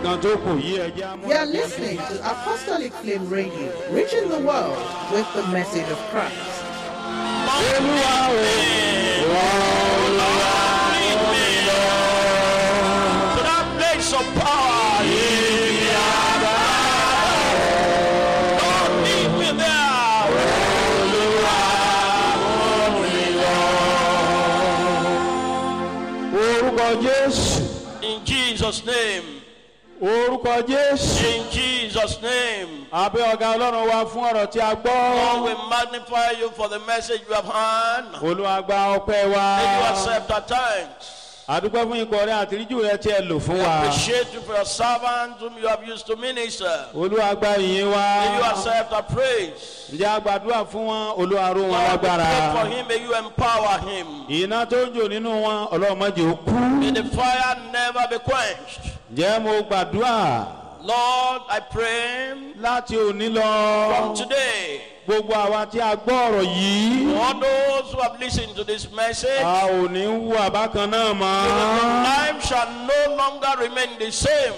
Kan tó kù yí ẹ jẹ́ á You are múra. listening to Apostolic Flame Radio, reaching the world with the message of Christ. Olúwa o, Olúwa Lead me to that place of power. Lord, lead me there. Orúkọ Jésù, In Jesus' name. orúkọ Jésù. In Jesus' name. Abẹ́ ọ̀gá Ọlọ́run wa fún ọ̀rọ̀ tí a Lord, gbọ́. we magnify you for the message you have heard. Olúwa gba ọpẹ́ wa. May you accept our thanks. Àdúpẹ́ fún ikọ̀ rẹ àtìríjù rẹ tí ẹ lò fún wa. Appreciate you for your servants whom you have used to minister. Olúwa gba ìyìn wa. May you accept our praise. Ǹjẹ́ a gbàdúrà fún wọn? Olúwa ró wọn Lord, we lágbára. pray for him. May you empower him. Iná tó ń jò nínú wọn, Ọlọ́run má jẹ́ ó kú. May the fire never be quenched. Ǹjẹ́ mo gbàdúrà Lord, I pray láti òní lọ? from today, Gbogbo àwa tí a gbọ́ ọ̀rọ̀ yìí, all those who have listened to this message, a ò ní wú àbákan náà mọ́. life shall no longer remain the same.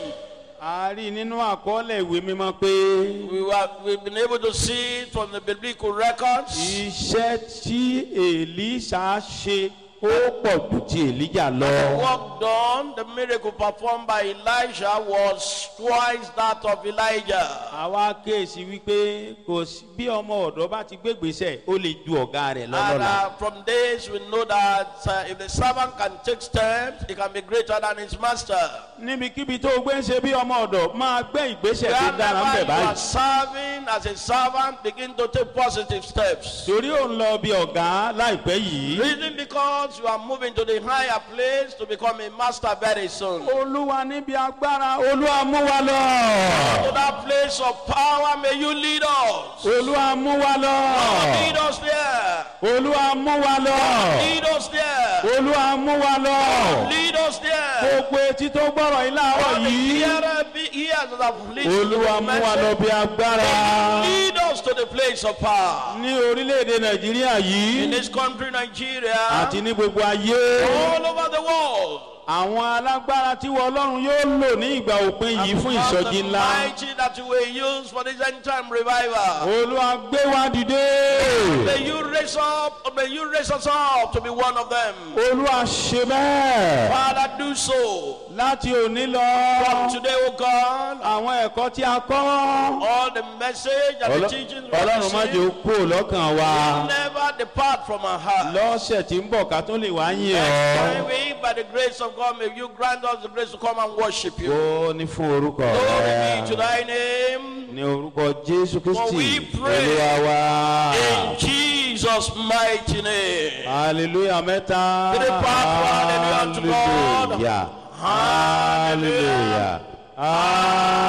A rí nínú àkọọ́lẹ̀ ìwé mímọ́ pé We've been able to see it from the biblical records. iṣẹ́ tí Èlíṣà ṣe ó pọ̀ jù ti Èlíjà lọ. The work done, the miracle performed by Elijah was twice that of Elijah. Àwa kéèsì wípé kò sí bí ọmọ ọ̀dọ́ bá ti gbégbèsè ó lè ju ọ̀gá rẹ̀ And lọ́lọ́la. from this, we know that if the servant can take steps, he can be greater than his master. Níbikíbi tó o gbé ń ṣe bí ọmọ ọ̀dọ̀ máa gbé ìgbésẹ̀ tó dára ń Wherever bẹ̀ you are báyìí. serving as a servant, begin to take positive steps. Torí ò ń lọ bí ọ̀gá láìpẹ́ yìí. Reason because you are moving to the higher place to become a master very soon. Olúwa níbi agbára Olúwa mú wa lọ. To that place of power, may you lead us. Olúwa mú wa lọ. Lead us there. Olúwa mú wa lọ. Lead us there. Olúwa mú wa lọ. Lead us there. Gbogbo etí tó gbọ́rọ̀ yìí láàárọ̀ All the yìí. hearer be ears that have listened to Olúwa the mú wa lọ message. bí agbára. Lead us to the place of power. Ní orílẹ̀-èdè Nàìjíríà In yìí this country, Nigeria, àti ní gbogbo ayé. all over the world. Àwọn alágbára tí wọ́n Ọlọ́run yóò lò ní ìgbà òpin yìí fún Because ìsọjí the ńlá. mighty that you will use for this end time revival. Olúwa gbé wa dìde. May you raise up, may you raise us up to be one of them. Olúwa ṣe bẹ́ẹ̀. Father, do so. Láti òní lọ. From today, O God, Àwọn ẹ̀kọ́ tí a kọ́. all the message and the teachings we have Ọlọ́run má jẹ́ ó received kúrò lọ́kàn wa. never depart from our heart. Lọ́sẹ̀ tí ń bọ̀ ká tó lè wá yìn Next ọ́. time we, by the grace of God, may you grant us the grace to come and worship you. Ó ní fún orúkọ Glory be to rẹ̀. thy name. Ní orúkọ Jésù For we Kristi. pray. Olúwa wa. In Jesus' mighty name. Hallelujah mẹ́ta. Three part, hallelujah to God. Hallelujah. Hallelujah.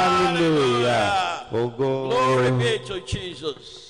Hallelujah. Glory Ògo. be to Jesus.